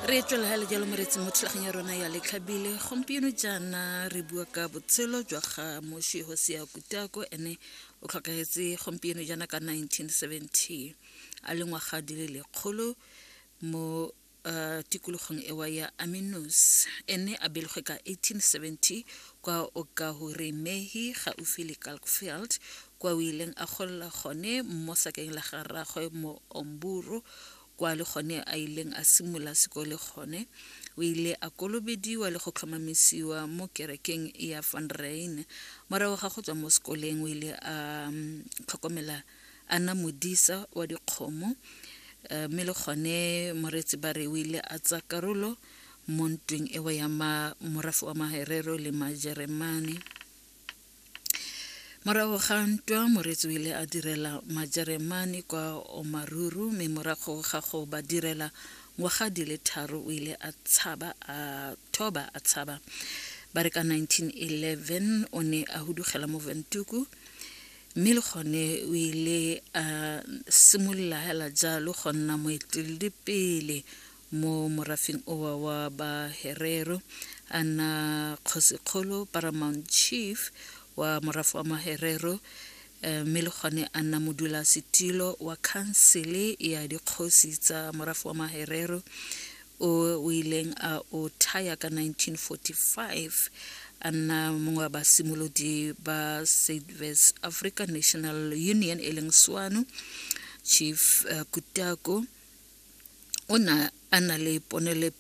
Re tswela hela jalo moretsi mo thulaganyo ya rona ya Letlhabile. Gompieno jaana re bua ka botshelo jwa ga moswi Hosea Kutako. Ene o tlhokagetse gompieno jaana ka 1970 a le ngwaga di le 100 mo tikologong ewa ya Aminus. Ene a belegwe ka 1870 kwa Okahuremehi gaufi le Kalkfeld, kwa o ileng a golela gone mo sakeng la ga rraagwe mo Omburu, kwa le gone a ileng a simolola sekole gone. O ile a kolobediwa le go tlhomamisiwa mo kerekeng ya Van Ryn. Morago ga go tswa mo sekoleng o ile a tlhokomela a nna modisa wa dikgomo, mme le gone moreetsi ba re o ile a tsaya karolo mo ntweng ewa ya morafe wa Maherero le Majeremane. Morago ga ntwa moreetsi o ile a direla Majeremane kwa Omaruru, mme morago ga go ba direla ngwaga di le 3 o ile a tshaba a thoba a tshaba. Ba re ka 1911 o ne a hudugela mo Windhoek, mme le gone o ile a simolola hela jalo go nna moeteledipele mo morafeng owa wa ba Herero, a nna kgosikgolo, paramount chief wa morafe wa Maherero, mme le gone a nna modulasetilo wa khansele ya dikgosi tsa morafe wa Maherero o o ileng a o thaya ka 1945, a nna mongwe wa basimolodi ba South African National Union e leng SWANU. Chief Kutako o na a na le ponele